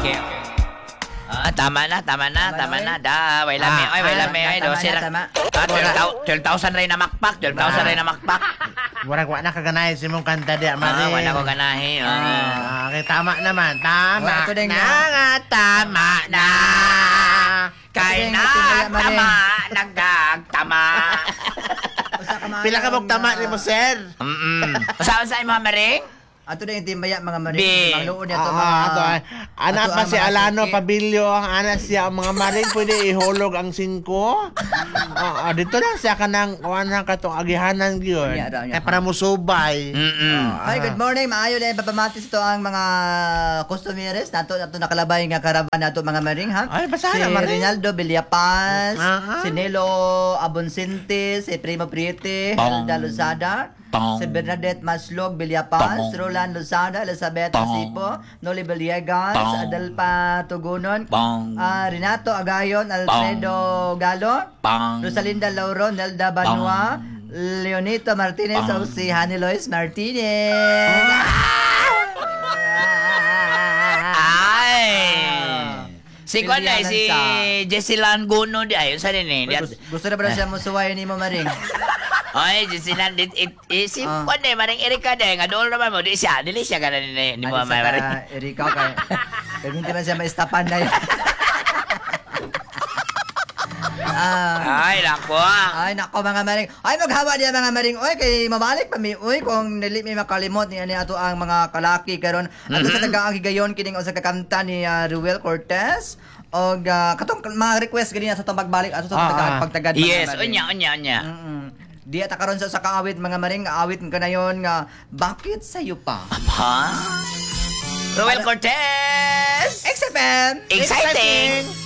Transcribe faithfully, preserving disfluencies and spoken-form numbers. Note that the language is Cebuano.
Okay. Ah, tama na, tama na, Tama tama na, na. Da, way lami, Ah, oy, way ah, lami, oy, tama dose na, ra. tama. Ah, twelve thousand ray na makpak, twelve thousand ray na makpak. Murag wa na kaganahin si mong kanta di, Ah, Maring. wala ko ganahi. Ah. Ah, okay, tama naman. Tama Wala, ito din na nga. nga, tama na. Kay Ito din, na, ito din, Maring. tama, nagdagtama. Usa ka Pila ka mong tama ni mo, sir? Mm-mm. Usa sa imo, Maring? Ato na yung timbaya, mga maring. Bi. Mangluon niya to Ah, mga ato, ay. Anak ato pa ang si mga Alano suki. Pabilio, ang anak siya, ang mga maring pwede ihulog ang singko. Ah, ah, dito lang siya kanang kuan na katong agihanan gyud. Niya, raw niya. Kay para musubay. Mm-mm. Ay, good morning. Maayo na papamatis ito ang mga customeres nato nato nakalabay nga karaban nato, mga maring, ha. Ay, basahan si na, maring. Rinaldo Villapaz, Ah, ah. si Nelo Aboncente, si Primo Priete, Tong. Hilda Lozada, Tong. si Bernadette Maslog Villapaz, Tong. Roland Lozada, Elizabeth Tong. Asipo, Noli Villegas, Tong. Adelpa Tugunon, Bong. ah, Renato Agayon, Alfredo Galo, Pang. Rosalinda Lauro, Nelda Banua, Leonito Martinez, Pang. o si Honey Lois Martinez. Ay! Si Kwan ay, si Pilianan. Jessie Lan Guno di ayon sa nini. Uy, gusto, gusto na ba na siya musuway ni mo, Maring? Oy, Jessie Lan dit it, eh, si Ah. Kwan eh, Maring Erika di nga dool naman mo di siya, dili siya kana ni ni mo Ano siya Maring. ka, Erika, kay kay hindi man siya maistapan na yun. Ah, Ay, nako. Ah. Ay, nako, mga maring. Ay, maghawa diya, mga maring. Oy, kay mabalik pa mi. Uy, kung dili mi makalimot ni ani ato ang mga kalaki karon. Ato sa tagaang higayon kining usa ka kanta ni ah, Ruel Cortez. Og ah, katong mga request ganina sa atong pagbalik ato sa Ah, taga ah. pagtagad, mga Yes, maring. unya unya unya. Mm-mm. Di ata karon sa usa ka awit, mga maring, awit ka na yon nga "Bakit Sayo Pa?" Ha? Ruel Cortez! X F M. Exciting!